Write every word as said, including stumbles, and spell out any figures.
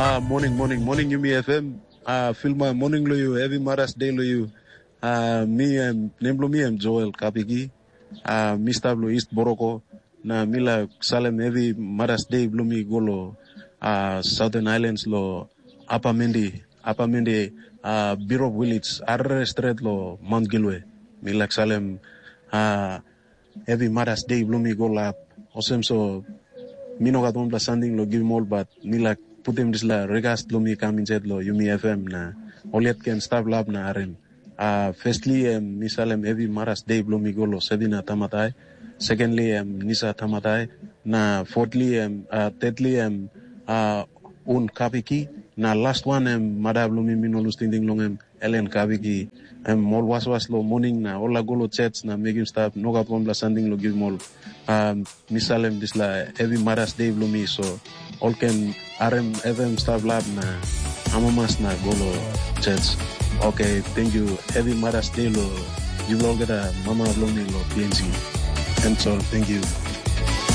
Ah, morning, morning, morning, Yumi F M. Ah, feel my morning lo you, heavy Mother's Day lo you. Ah, mi em, nem lo mi em Joel Kapiki. Ah, mi stap lo East Boroko. Na mi la salem heavy Mother's Day blo mi go lo ah, Southern Islands lo Apamendi. Apamendi, ah, Birop Village, arere stret lo Mount Gilwe. Mi la salem ah, heavy Mother's Day blo mi go lap. Osem so, mi no gat wanpela sanding lo givim ol, but mi la putim dispela regas blo mi kam insait lo Yumi F M na ol yet ken stap lap na harim. Uh, firstly, em mi salem heavy Mother's Day blo mi go lo Sevina Tamatai. Secondly, em Nisa Tamatai. Na fourthly, em uh, thirdly, em uh, Un Kapiki. Na last one, em mada blo mi, mi no lus tingting long em, Ellen Kapiki. Em ol waswas lo morning na ol la go lo church na mekim stap, no gat wanpela sanding lo givim ol. Um, mi salem dispela heavy Mother's Day blo mi, so ol ken harim F M stap lap na amamas na go lo church. Okay, thank you. Heavy Mother's Day lo yupela olgeta mama blo mi lo P N C. That's all. Thank you.